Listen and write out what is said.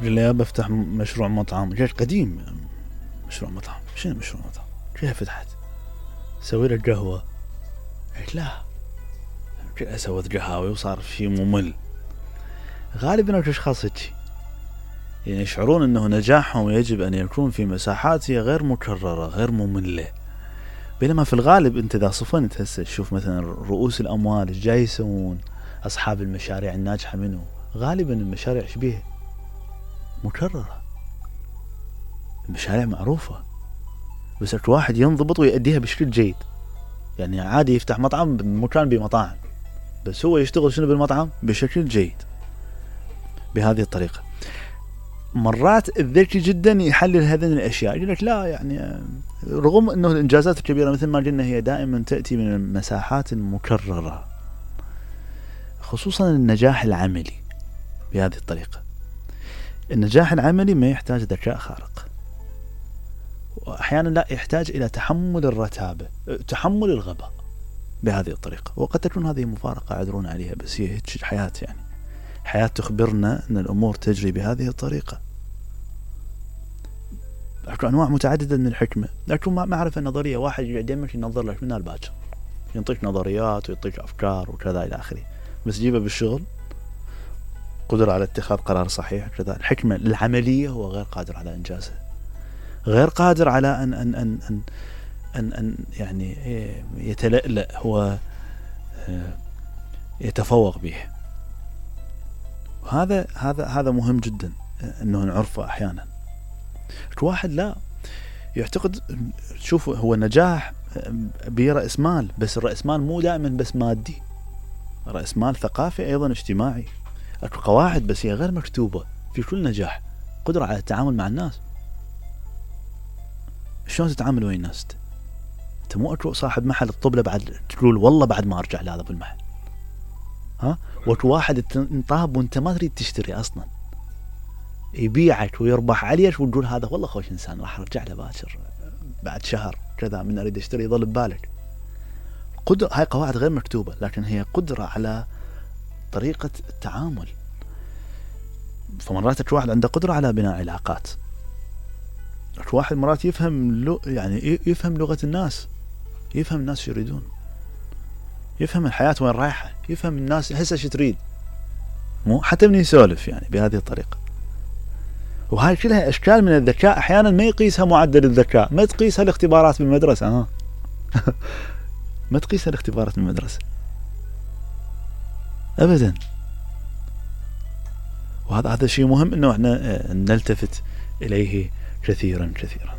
تقول لي بفتح مشروع مطعم، جيش قديم. مشروع مطعم؟ شنو مشروع مطعم؟ كيف فتحت؟ سوي لك قهوة؟ قلت لا، سويت قهاوي وصار شيء ممل. غالبا الاشخاص هيك يعني يشعرون انه نجاحهم يجب ان يكون في مساحات هي غير مكررة غير مملة، بينما في الغالب انت اذا صفنت هسه تشوف مثلا رؤوس الاموال ايش جاي يسوون، اصحاب المشاريع الناجحة منه غالبا المشاريع شبيه مكررة، المشاريع معروفة بس واحد ينضبط ويؤديها بشكل جيد. يعني عادي يفتح مطعم بمكان بمطاعم بس هو يشتغل شنو بالمطعم بشكل جيد بهذه الطريقة. مرات الذكي جدا يحلل هذه الاشياء، يقول لك لا يعني رغم انه الانجازات الكبيرة مثل ما قلنا هي دائما تأتي من المساحات المكررة، خصوصا النجاح العملي بهذه الطريقة. النجاح العملي ما يحتاج ذكاء خارق، وأحيانا لا يحتاج إلى تحمل الرتابة، تحمل الغباء بهذه الطريقة. وقد تكون هذه مفارقة عذرون عليها بس هي هيك الحياة، يعني حياة تخبرنا أن الأمور تجري بهذه الطريقة. أكو أنواع متعددة من الحكمة، لكن معرفة نظرية واحد يدمك ينظر لك من الباكر ينطيك نظريات ويعطيك أفكار وكذا إلى آخره، بس جيبه بالشغل قدرة على اتخاذ قرار صحيح كذا. الحكمة العملية هو غير قادر على إنجازها، غير قادر على أن يعني يتلألأ هو يتفوق به. هذا مهم جدا أنه نعرفه. أحيانا واحد لا يعتقد، شوف هو النجاح برأس مال، بس الرأس مال مو دائما بس مادي، رأس مال ثقافي أيضا اجتماعي. أكو قواعد بس هي غير مكتوبة في كل نجاح، قدرة على التعامل مع الناس. شلون تتعامل ويا الناس؟ انت مو اكو صاحب محل الطبلة بعد تقول والله بعد ما ارجع لهذا بالمحل، ها؟ واكو واحد انطاب وانت ما تريد تشتري اصلا، يبيعك ويربح عليك وتقول هذا والله خوش انسان راح ارجع له باكر بعد شهر كذا من اريد اشتري، يظل ببالك. قدرة، هاي قواعد غير مكتوبة لكن هي قدرة على طريقة التعامل. فمرات اكو واحد عنده قدرة على بناء علاقات، اكو واحد مرات يفهم يعني يفهم لغة الناس، يفهم الناس شو يريدون، يفهم الحياة وين رايحة، يفهم الناس هسه شو تريد، مو حتى من يسولف يعني بهذه الطريقة. وهاي كلها اشكال من الذكاء. احيانا ما يقيسها معدل الذكاء، ما تقيسها الاختبارات بالمدرسة، ما تقيسها الاختبارات بالمدرسة ابدا. وهذا شيء مهم انه احنا نلتفت اليه كثيرا كثيرا.